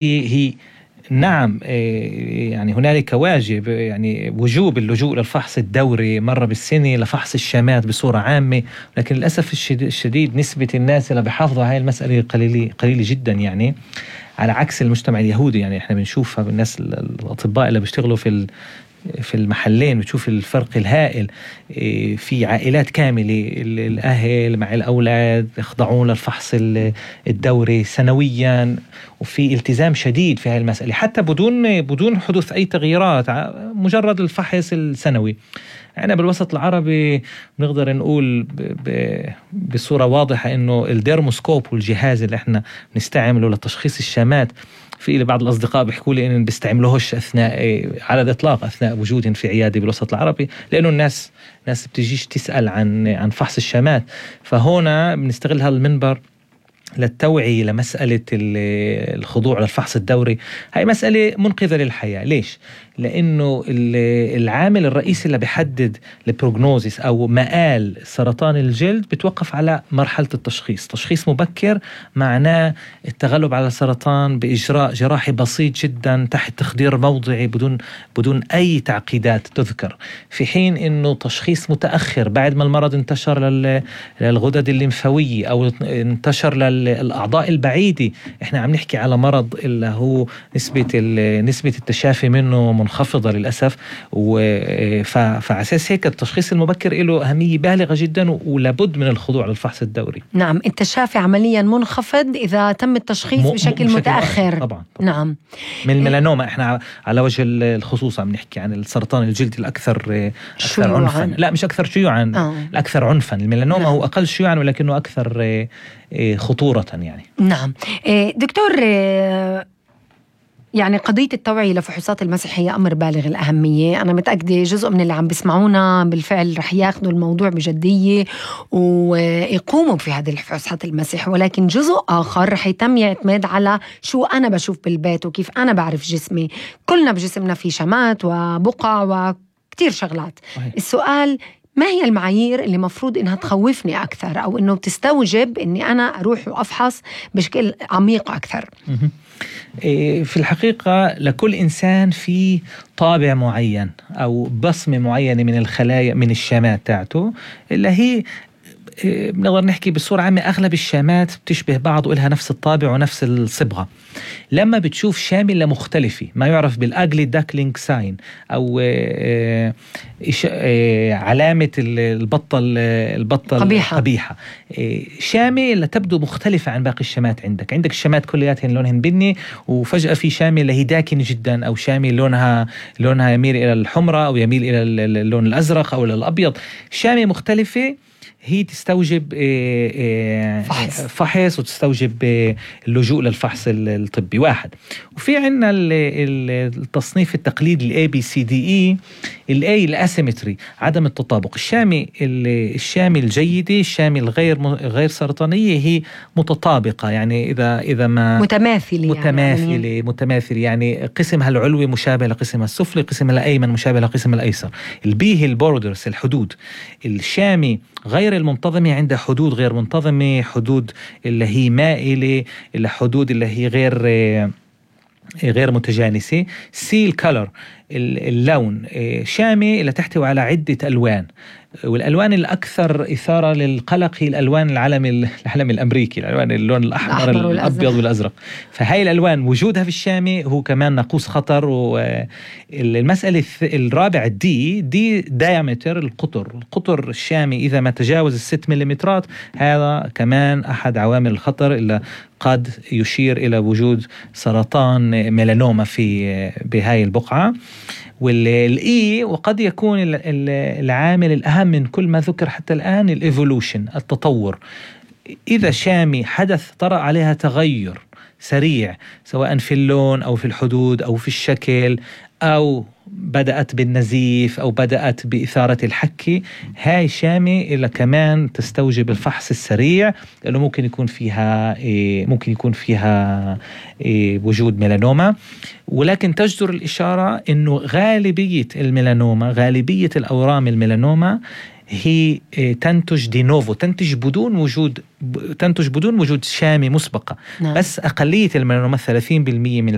هي نعم، يعني هنالك واجب، يعني وجوب اللجوء للفحص الدوري مرة بالسنة لفحص الشامات بصورة عامة. لكن للأسف الشديد نسبة الناس اللي بيحافظوا على هاي المسألة قليلة جدا، يعني على عكس المجتمع اليهودي. يعني احنا بنشوفها بالناس الأطباء اللي بيشتغلوا في المحلين، بتشوف الفرق الهائل. في عائلات كاملة الأهل مع الأولاد يخضعون للفحص الدوري سنويا، وفي التزام شديد في هذه المسألة حتى بدون حدوث أي تغييرات، مجرد الفحص السنوي. أنا بالوسط العربي نقدر نقول بصورة واضحة إنه الديرموسكوب والجهاز اللي إحنا نستعمله لتشخيص الشامات، في بعض الأصدقاء بيحكوا لي إن بيستعملوهش على الإطلاق أثناء وجودهم في عيادة بالوسط العربي، لأنه الناس بتجيش تسأل عن فحص الشامات. فهنا بنستغل هذا المنبر للتوعية لمسألة الخضوع للفحص الدوري. هاي مسألة منقذة للحياة. ليش؟ لأنه العامل الرئيسي اللي بيحدد البروغنوزيس أو مآل سرطان الجلد بتوقف على مرحلة التشخيص. تشخيص مبكر معناه التغلب على السرطان بإجراء جراحي بسيط جدا تحت تخدير موضعي بدون أي تعقيدات تذكر، في حين أنه تشخيص متأخر بعد ما المرض انتشر للغدد الليمفاوية أو انتشر للأعضاء البعيدة. احنا عم نحكي على مرض اللي هو نسبة التشافي منه منخفضة للأسف. فعساس هيك التشخيص المبكر له أهمية بالغة جدا، ولابد من الخضوع للفحص الدوري. نعم، التشافي عمليا منخفض إذا تم التشخيص بشكل متأخر. طبعا. نعم. من الميلانوما احنا على وجه الخصوص عم نحكي عن السرطان الجلدي الأكثر عنفا. لا، مش أكثر شيوعا، الأكثر عنفا. الميلانوما هو أقل شيوعا ولكنه أكثر خطورة يعني. نعم دكتور، يعني قضية التوعية لفحوصات المسح هي أمر بالغ الأهمية. أنا متأكدة جزء من اللي عم بيسمعونا بالفعل رح ياخدوا الموضوع بجدية ويقوموا في هذه الفحوصات المسح، ولكن جزء آخر رح يتم يعتمد على شو أنا بشوف بالبيت وكيف أنا بعرف جسمي. كلنا بجسمنا في شمات وبقع وكتير شغلات. السؤال: ما هي المعايير اللي مفروض إنها تخوفني أكثر أو إنه تستوجب إني أنا أروح وأفحص بشكل عميق أكثر؟ في الحقيقة لكل إنسان في طابع معين أو بصمة معينة من الخلايا من الشامات تاعته، اللي هي بنقدر نحكي بصورة عامة أغلب الشامات بتشبه بعض وإلها نفس الطابع ونفس الصبغة. لما بتشوف شاملة مختلفة، ما يعرف بالأجلي داكلينج ساين أو علامة البطة قبيحة، شامة اللي تبدو مختلفة عن باقي الشامات. عندك الشامات كلياتهن لونهن بني، وفجأة في شامة اللي هي داكنة جدا، أو شامة لونها يميل إلى الحمرة أو يميل إلى اللون الأزرق أو الأبيض. شامة مختلفة هي تستوجب فحص وتستوجب اللجوء للفحص الطبي. واحد. وفي عنا التصنيف التقليدي ABCDE. الA الاسيمتري، عدم التطابق. الشامة الجيدة، الشامة الغير سرطانية هي متطابقة، يعني إذا ما متماثلة، يعني قسمها العلوي مشابه لقسمها السفلي، قسمها الأيمن مشابه لقسمها الأيسر. البي هي البوردرز، الحدود. الشامة غير المنتظمة عندها حدود غير منتظمة، حدود اللي هي مائلة، الحدود اللي هي غير متجانسة. سي الكالر، اللون. شامة اللي تحتوي على عدة ألوان، والألوان الأكثر إثارة للقلق هي الألوان العلم الأمريكي، اللون الأحمر الأبيض والأزرق. فهاي الألوان وجودها في الشامة هو كمان ناقوس خطر. والمسألة الرابعة دي دايمتر، القطر الشامي إذا ما تجاوز 6 مليمترات، هذا كمان أحد عوامل الخطر اللي قد يشير إلى وجود سرطان ميلانوما بهاي البقعة. والإي، وقد يكون العامل الأهم من كل ما ذكر حتى الآن، الإيفولوشن، التطور. إذا شامي طرأ عليها تغير سريع، سواء في اللون أو في الحدود أو في الشكل، أو بدأت بالنزيف أو بدأت بإثارة الحكة، هاي شامة إلا كمان تستوجب الفحص السريع، لأنه ممكن يكون فيها وجود ميلانوما. ولكن تجدر الإشارة إنه غالبية الميلانوما، غالبية الأورام الميلانوما هي تنتج دي نوفو، تنتج بدون وجود شامة مسبقة. نعم. بس أقلية الميلانوما 30% من